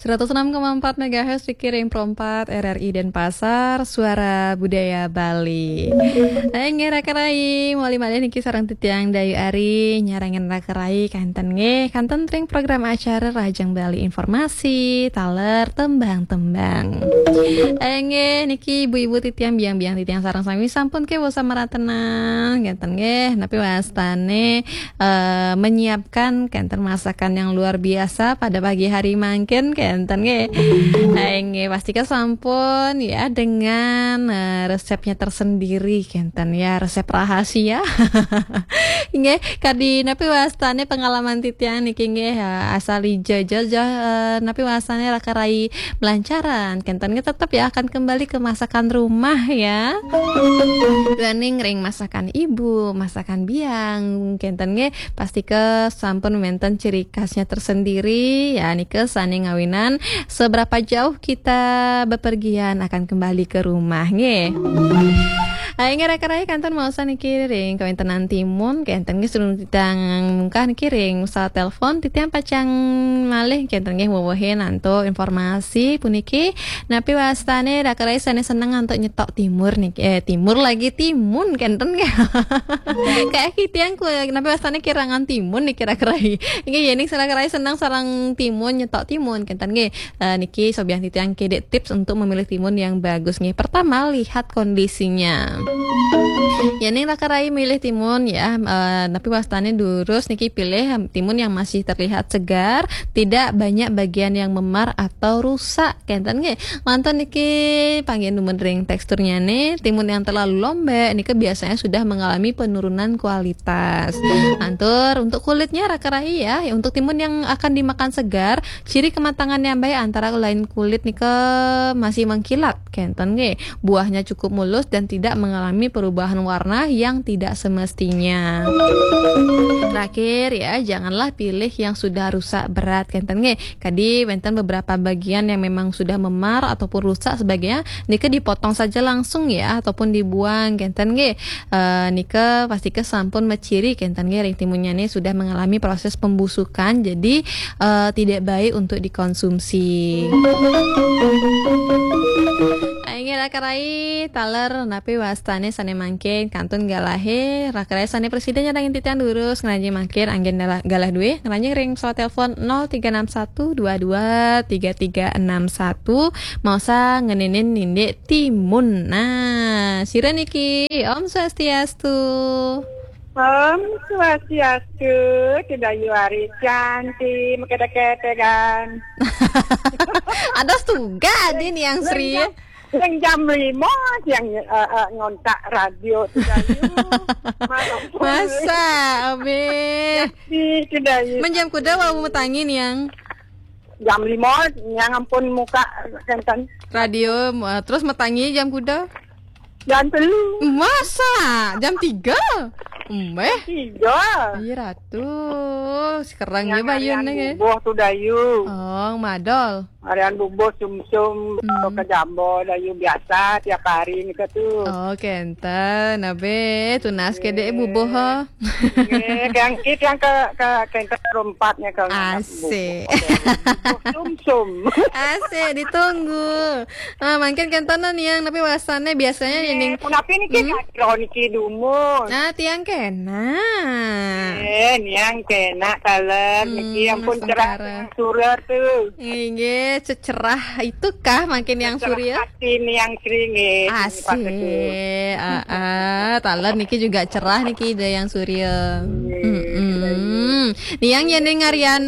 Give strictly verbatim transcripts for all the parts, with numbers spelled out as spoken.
Seratus enam koma empat megahertz Pikiring Pro empat R R I Denpasar, Suara Budaya Bali. Inggih raka rai, malih-malih niki sareng titiang Dayu Ari, nyarengin raka rai kanten nggih, kanten ring program acara Rahajeng Bali Informasi, taler tembang-tembang. Inggih niki ibu-ibu titiang, biang-biang titiang sareng sami sampun kewasa maratenan, kanten nggih, napi wastane eh, menyiapkan kenten masakan yang luar biasa pada pagi hari mangkin kenten nggih. Eh, nggih, pastika sampun ya dengan eh, resepnya tersendiri kenten ya, resep rahasia. Nggih, kadi napi wastane pengalaman titiang niki nggih, eh, asal ija-ija eh, napi wastane raka rai melancaran kenten nggih, tetap ya akan kembali ke masakan rumah ya. Duaning ring masakan ibu, masakan biang kenten nggih, pastika sampun wenten ciri khasnya tersendiri ya, nika sane ngawinan seberapa jauh kita bepergian akan kembali ke rumah nggih. Inggih raka rai, kanten maosan niki ring kawentenan timun kenten nggih, sedurung titiang mungkah niki ring pesawat telepon, titiang pacang malih kenten nggih wewehin antuk informasi puniki. Napi wastane raka rai sane seneng antuk nyetok timur niki, eh, timur lagi, timun kenten nggih. Kayak titiang ku, napi wastane kirangan timun niki raka rai. Inggih, yening raka rai seneng sareng timun, nyetok timun kenten nggih. Eh, niki sobian titiang kedek tips untuk memilih timun yang bagus nggih. Pertama, lihat kondisinya. Yening raka rai milih timun ya, eh, napi wastane durus niki, pilih timun yang masih terlihat segar, tidak banyak bagian yang memar atau rusak kenten nggih. Mantun niki panggihin dumun ring teksturnyane, timun yang terlalu lembek nika biasanya sudah mengalami penurunan kualitas. Lantur untuk kulitnya raka rai ya, untuk timun yang akan dimakan segar, ciri kematangannya baik antara lain kulit nika masih mengkilat kenten nggih. Buahnya cukup mulus dan tidak mengalami perubahan warna yang tidak semestinya. Terakhir ya, janganlah pilih yang sudah rusak berat kenten nggih. Kadi wenten beberapa bagian yang memang sudah memar ataupun rusak sebagainya, nika dipotong saja langsung ya, ataupun dibuang kenten nggih. Eh, nika pastika sampun maciri kenten nggih, ring timunnyane sudah mengalami proses pembusukan, jadi eh, tidak baik untuk dikonsumsi. Inggih raka rai, taler napi wastane sane mangkin kantun galahe, raka rai sane prasida nyarengin titiang durus, ngranjing mangkin anggen galah, galah duwe, ngranjing ring pesawat telepon nol tiga enam satu dua dua tiga tiga enam satu, maosan ngeninin nindik timun. Nah, sira niki, Om Swastiastu. Om Swastiastu, Ki Dayu Ari Canti, mekete-ketegan. Ada setuga din yang Sri. Yang jam lima yang eh, eh, ngontak radio tu Dayu. Masa, abe. Si Ki Dayu. Men jam kuda wau metangi niang. Jam lima niang ampun muka kenten. Radio, eh, terus metangi jam kuda? Jam telu. Masa? Jam tiga? Mbeh. Tiga. Iya, Ratu. Sekarang ya bayun nih. Bubuh tu Dayu. Oh, madol. Harian bubuh sumsum hmm. Ke jambo Dayu biasa tiap hari ni ke tu. Oh, kenten. Abe, tunas ke dek bubuh ha. Nggih, yang kit yang ke ke kenten perempatnya ke. Asik. Bubuh sumsum. Asik, ditunggu. Ah, mangkin kenten niang, tapi wasane biasanya ini. Punapi niki hmm? Kira niki dumun. Nah, tiang kena. Eh, niang kena kaler hmm, niki ampun cerah surer tu. Nggih, cecerah itukah mangkin yang surya? Hati niang Sri nggih. Asik. Ah, ah, taler niki juga cerah niki ida yang surya. Nggih. Niang yen ngarian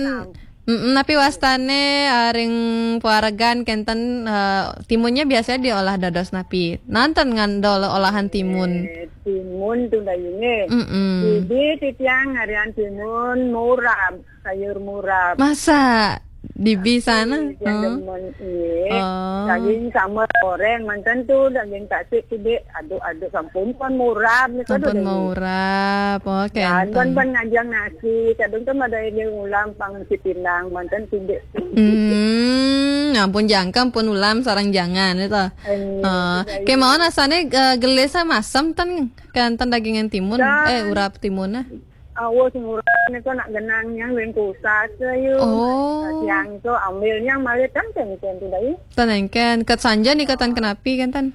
Mm-mm, napi wastane ah, ring paregan kenten ah, timunnya biasanya diolah dados napi? Nanten ngandol olahan timun. Eh, timun tu dayune. Mm-mm. Jadi titiang harian timun murab, sayur murab. Masa di sana? Tiang demen, iya. Oh. Daging sama goreng manten tu, daging tasik tu dek aduk-aduk sampun pun murab ni. Sampun murab. Oh, kenten. Pun ngajang nasi, kadang kan ada yang ulam pang si pinang manten tu dek. Hmm, ampun jangka pun ulam sarang jangan itu. Eh, kemauan asane uh, gelis masam ten kenten dagingan timun. Eh, urap timun ah. Awo sing urang nika nak genang nyang win kusas, Yu. Oh. Siang tu ambil nyang malih ten ten ten tu, Dayu. Ten engken, ket sanja nika ten kenapi kan ten?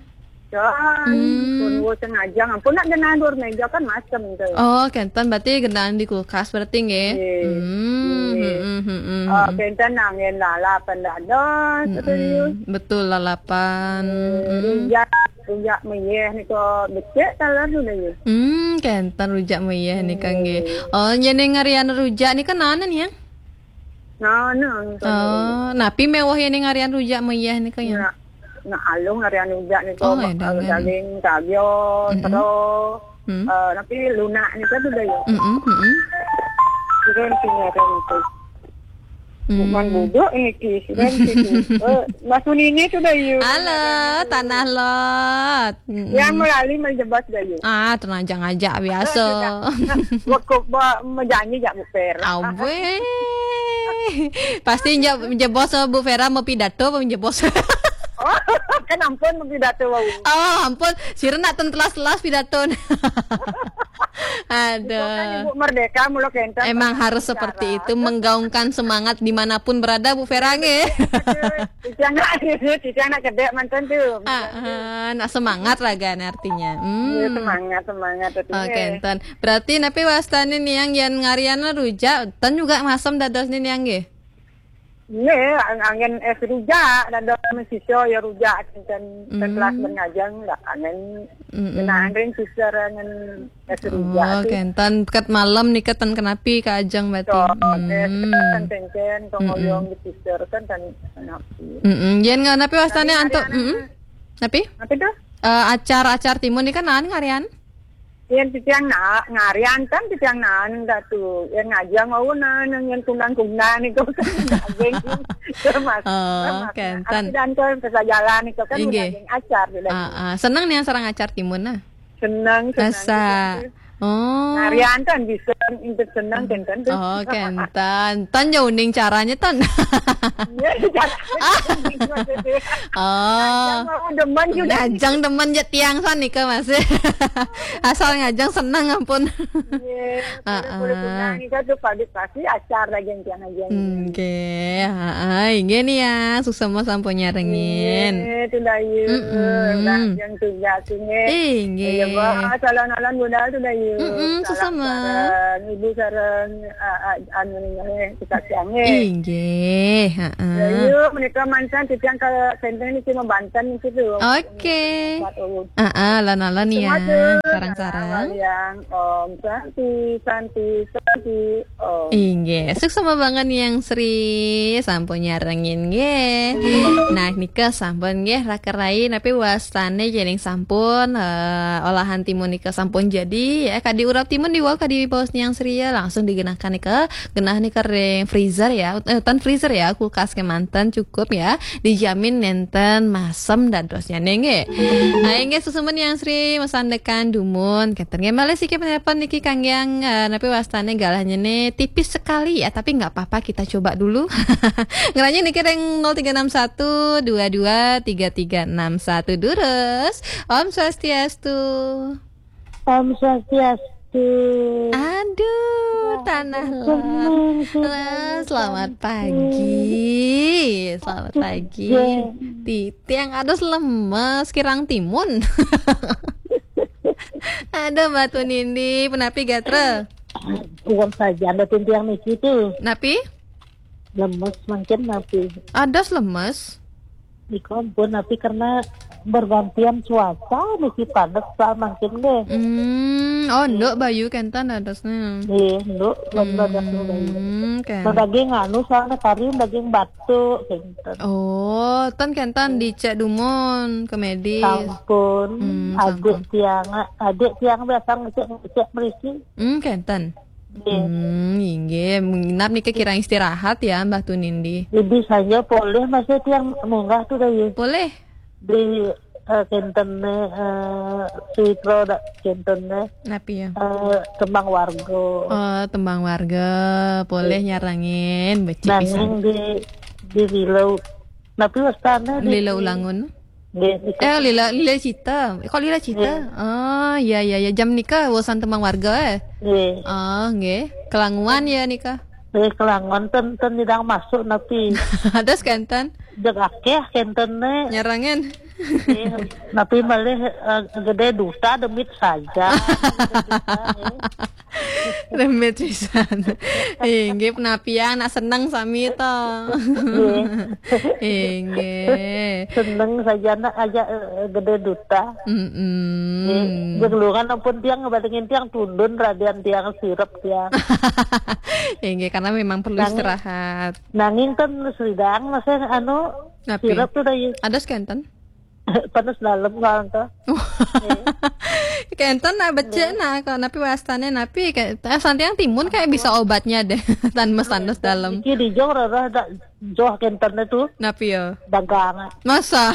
Ten, hmm, pun wo sengajang, ampun nak genang dur meja kan masem tu. Oh, kenten berarti genang di kulkas berarti nggih. Nggih. Hmm, nggih. Hmm, hmm, hmm, oh, hmm. Kenten angin lalap dados, hmm, betul, Yu. Betul, lalapan. Hmm, hmm. Rujak, rujak meyeh nika becik taler tu, Dayu. Hmm, kenten rujak meyeh nika nggih. Nggih. Oh, yen ngarian rujak nika nanen ya? Nanen. Oh, napi mewah yen ngarian rujak meyeh nika ya? Nak, nak alung ngarian rujak nika, oh, mak, edangan. Daging, kagio, mm-mm, tero, hmm, eh, napi lunak nika tu, Dayu. Mm-mm, mm-mm. Kira sing ada nika. Hmm. Bukan buduk ini, Ki. Sudah, Ki. Eh, Mas Unini sudah, Yu. Halo, Tanah Lot. Mm-mm. Yang melali menjebas, Dayu. Ah, tenang, jangan ajak biasa. Sudah, sudah. Waktu ba-, menjanji jak Bu Vera. Awe. Pasti nje-, menjebos sama Bu Vera mau pidato apa menjebos? Oh, kan ampun mau pidato, wau. Oh, ampun. Sira nak ten telas-telas pidato. Aduh. Itu kan Ibu Merdeka, mula kenten. Emang harus seperti itu, menggaungkan semangat dimanapun berada, Bu Vera, nggih. Titiang nak, titiang nak kedek manten tu. Ah, ah, nak semangat raga artinya. Hmm. Ya, semangat, semangat, betul. Oke, nggih. Enten. Berarti napi wastane niang yen ngarian rujak, ten juga masem dados niang nggih? Nggih, ang-, angin es rujak, dados mesisa ya rujak, ten, ten, hmm, kelas mengajeng, dak angin, mm-mm, genah angin sisir angin es rujak. Oh, tu. Kenten ket malam nika ten kenapi ka ajeng berarti. So, hmm, ten, ten, ten, ten, hmm, ngoyong di sisir, ten, ten, kenapi. Mm-mm. Yen nga-, napi wastane antuk, mm-mm. Napi? Napi tu? Eh, acar-acar timun nika naen ngarian? Yen titiang na-, ngarian ten titiang naen dah tu. Yen ngajeng wau naen yen kunang-kunang niku kan daging. Termasuk, oh, termasuk kenten. Arti dan tu pesajalan niku kan, inggih, daging acar tu daging. Ah, ah. Seneng niang sareng acar timun nah? Seneng, seneng. Asa. Titiang tu. Oh. Ngarian ten bisa untuk seneng kenten tu. Oh, kenten. Tan jauh ning caranya tan. Ya, cara. Oh. Ngajeng wau demen juga. Ngajeng demen ja tiang sanika, Mas. Asal ngajeng seneng ampun. Iya, heeh. Boleh, boleh punang nika tu padi pasti acar lagi yang tiang aja. Nggih, heeh, nggih nih ya, suksma sampun nyarengin. Nggih, tu Dayu. Mm-mm. Ngajeng tugas nggih. Inggih. Ya, bah, salam-salam budal tu Dayu. Mm-mm, salam suksma. Sareng ibu sareng, ah, ah, anu nih, kita siang nggih. Inggih, heeh. Dayu, menika manten titiang ke Senteng niki mabanten niki tu. Oke. Obat ulun. Ah, ah, lan-lan ya. Sareng-sareng. Yang Om Santi, Santi, Santi, Om. Inggih, suksma banget yang Sri, sampun nyarengin nggih. Nah, nika sampun nggih, raka rai, napi wastane jening sampun, eh, olahan timun nika sampun jadi, ya, kadi urap timun diwau kadi baos yang Sri ya, langsung digenakan nika, genah nika ring freezer ya, ut-, eh, utan freezer ya, kulkas kemanten cukup ya. Dijamin nenten masem dadosnya nggih. Nah, inggih suksma yang Sri masandekan dumun. Kenten nggih malih siki penelpon niki kangge yang, eh, napi wastane galahnya nih tipis sekali ya, tapi nggak apa-apa kita coba dulu. Ngeranya niki ring nol tiga enam satu dua dua tiga tiga enam satu durus. Om Swastiastu. Om Swastiastu. Aduh, wah, Tanah Lot. Senang sekali. Lah, selamat pagi. Selamat pagi. Iya. Titiang ados lemes kirang timun. Aduh, Mbak Tunindi, penapi gatra? Uang saja anda titiang niki tu. Napi? Lemes mangkin napi? Ados lemes? Niku ampun, napi karena bergantian cuaca niki panas sa mangkin nggih. Hmm, oh, nduk bayu kenten dadosnya. Nggih, nduk, nduk, nduk, nduk, bayu. Hmm, kenten. Nah, daging anu soalnya kari daging batuk kenten. Oh, ten kenten dicek dumun ke medis. Sampun, hmm, adik sampun. Tiang, adik tiang biasa ngecek, ngecek merisi. Hmm, kenten. Nggih. Hmm, inggih. Menginap nika kirang istirahat ya, Mbah Tunindi. Lebih saja polih masih tiang munggah tu Dayu. Polih? Di, eh, kenten ne, eh, Suwitra dak kenten ne. Napi ya? Eh, tembang warga. Oh, tembang warga. Polih nyarengin, becik pisan. Nanging di, di Lilau. Napi wastane di Lilau Ulangun? Nggih, nika. Eh, lila, lila cita. Kok lila cita? Nggih. Oh, iya, iya, iya. Jam nika urusan tembang warga, eh? Nggih. Oh, nggih. Kelanguan ya nika? Nggih, kelanguan ten, ten nyidang masuk napi. Terus kenten? Jek akeh kenten ne. Nyarengin? Nggih, napi malih, eh, gede duta demit saja. Demit pisan. Inggih, penapian nak seneng sami to. Nggih. Inggih. Seneng saja nak aja, eh, gede duta. Mm-mm. Nggih. Jeung luangan ampun tiang ngebandingin tiang tundun radian tiang sirep tiang. Inggih, karena memang perlu istirahat. Nanging ten sidang masih anu sirep tuh dah. Ada kenten? Panas dalam kalau tuh. Kenten nak becek nak kok napi wastane napi kayak eh, santiang timun kayak bisa obatnya deh. Tan mes tandes dalam. Iki di jong rarah dak joh kenten itu. Napi ya? Dagang. Masa?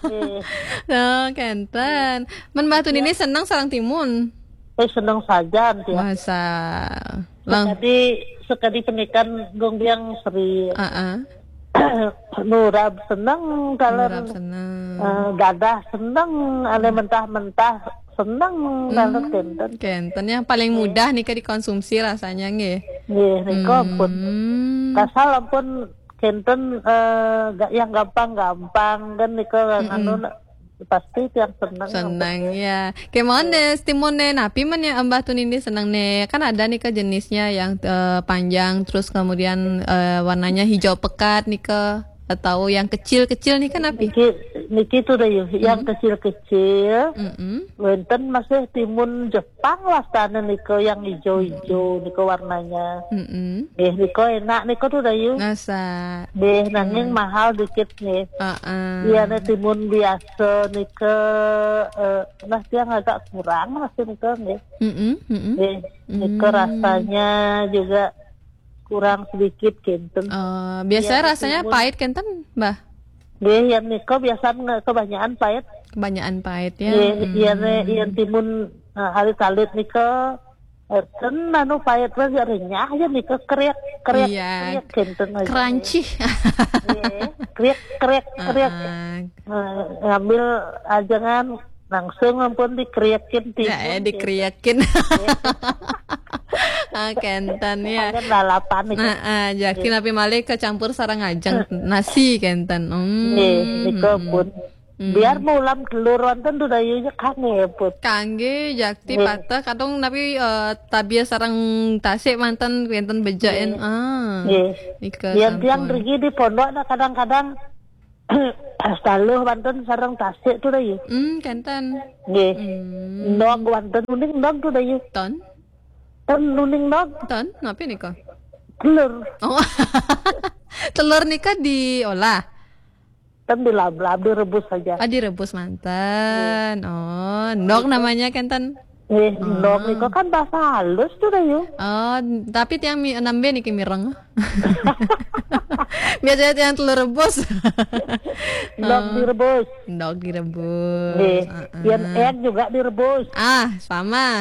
Eh. Oh, kenten. Men batu ini seneng sarang timun. Eh, seneng saja anti. Masa? Lang. Sekadi sekadi penikan gong biang seri. Heeh. Nurab seneng kalau Nurab seneng. Eh, gadah seneng, ane mentah-mentah seneng kalau kenten. Kenten yang paling mudah nih dikonsumsi rasanya nggih. Nggih, nika pun. Hmm. Kasal ampun kenten eh, ga- yang gampang-gampang kan nika anu pasti tiang seneng. Seneng ya. Kemon deh, timun deh. Napi men ya Mbah Tunindi seneng nih. Kan ada nih ke jenisnya yang eh, panjang terus kemudian eh, warnanya hijau pekat nih ke atau yang kecil-kecil nih kan napi? Niki niki tuh dah yuk, yang kecil-kecil. Mm-mm. Wenten masih timun Jepang wastane nika yang hijau-hijau nika warnanya. Mm-mm. Eh, nika enak nika tuh dah yuk. Nasa. Eh, nanging mahal dikit nih. Heeh. Iya nih timun biasa nika eh, nah tiang agak kurang masih nika nih. Mm-mm, mm-mm. Eh, nika rasanya juga kurang sedikit kenten. Eh, biasanya Iya, rasanya timun. Pahit kenten, Mbah? Nggih, yang nika biasa nge- kebanyakan pahit. Kebanyakan pahit ya. Nggih, Hmm. Iya nih, yang timun eh, alit-alit nika eh, ten anu pahit aja renyah aja nika kriak kriak Iya. Kriak kenten aja. Crunchy. Nggih, kriak kriak kriak. Heeh. Eh, ngambil aja kan langsung ampun dikriakin timun. Ya, eh, dikriakin. Ah, kenten ya. Kan lalapan itu. Nah, ah, jadi napi malih kecampur sarang ajeng nasi kenten. Hmm. Nggih, nika pun. Hmm. Biar mau ulam telur wonten tuh dayunya kangge pun. Kangge jakti patah kadung napi eh, tabia sarang tasik manten kenten bejain. Ah. Nggih. Nika Yang tiang sampun. Rigi di pondok ada kadang-kadang taluh wonten sarang tasik tuh dayu. Hmm, kenten. Nggih. Hmm. Nog wonten uning nog tuh dayu. Ton? Ten uning nog. Ton, napi nika? Telur. Oh. Telur nika diolah. Ten dilablab direbus saja. Ah, direbus manten. Oh, nog namanya kenten. Eh, endog nika kan bahasa halus tuh dayu. Oh, tapi tiang mi nambe niki mireng. Biasanya tiang telur rebus. Endog direbus. Endog direbus. Eh, yang egg juga direbus. Ah, sama.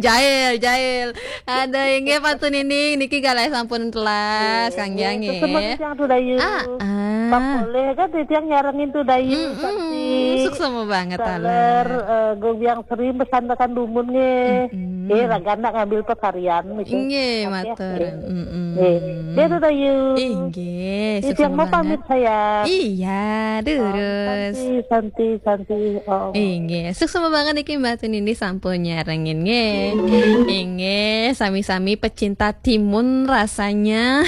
Jahil, jahil. Ada inggih Patun Inding niki galai sampun telas, Kang Jang nggih. Terus nggih. Tiang tuh dayu. Ah, ah. Pak boleh kan tiang nyarengin tuh dayu. Mm-mm, suksma banget taler. Taler, eh, gue biang sering pesan tekan dumun nggih. Mm-mm. Eh, ragana ngambil pekarian gitu. Nggih, matur. Nggih. Mm-mm. Nggih. Dia tuh dayu. Inggih, suksma banget. Tiang mau pamit sayang. Iya, durus. Santi, santi, santi. Oh. Inggih, suksma banget iki Mbak Tunindi sampun nyarengin nggih. Inggih, sami-sami pecinta timun rasanya.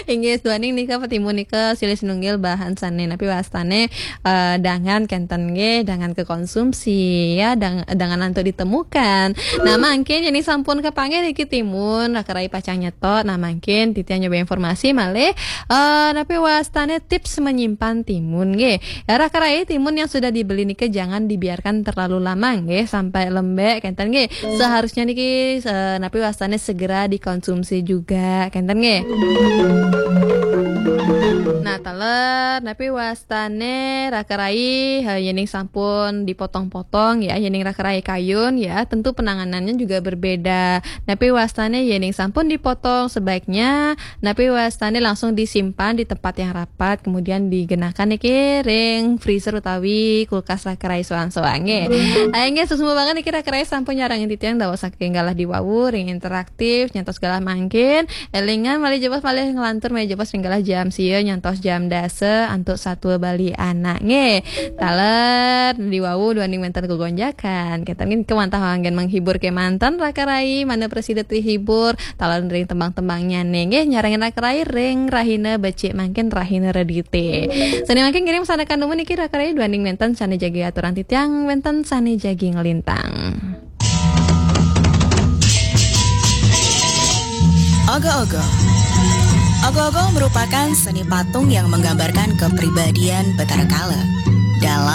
Inggih, duaning nika timun nika silih sinunggil bahan sane napi wastane eh, dangan kenten nggih, dangan kekonsumsi ya, dang, dangan untuk ditemukan. Nah, mangkin ini sampun kepanggih niki timun, raka rai pacang nyetok. Nah, mangkin titian nyoba informasi malih eh napi wastane tips menyimpan timun nggih. Ya, raka rai timun yang sudah dibeli niki jangan dibiarkan terlalu lama nggih, sampai lembek kenten nggih. Seharusnya niki eh, napi wastane segera dikonsumsi juga kenten nggih. Nah, Taler, napi wastane raka rai, eh, yening sampun dipotong-potong ya, yening raka rai kayun ya, tentu penanganannya juga berbeda. Napi wastane yening sampun dipotong, sebaiknya napi wastane langsung disimpan di tempat yang rapat, kemudian digenakan niki ring freezer utawi kulkas raka rai soang-soange. Ayo nggih, suksma banget niki raka rai sampun nyarengin titiang dawuh saking galah diwawu ring interaktif, nyantos galah mangkin. Elingan malih jebos malih nglantur malih jebos ring galah jam sia nyantos jam dasa antuk satua Bali anak nggih. Taler diwawu duaning wenten kegonjakan. Kita nggih kemantah anggen menghibur kemanten raka rai, mana presida terhibur, taler ring tembang-tembangnya nggih nyarengin raka rai ring rahina becik mangkin rahina redite. Sane mangkin ngiring sandekan dumun niki raka rai duaning wenten sane jagi aturan titiang wenten sane jagi ngelintang. Ogo-ogo. Ogo-ogo merupakan seni patung yang menggambarkan kepribadian Betara Kala. Dalam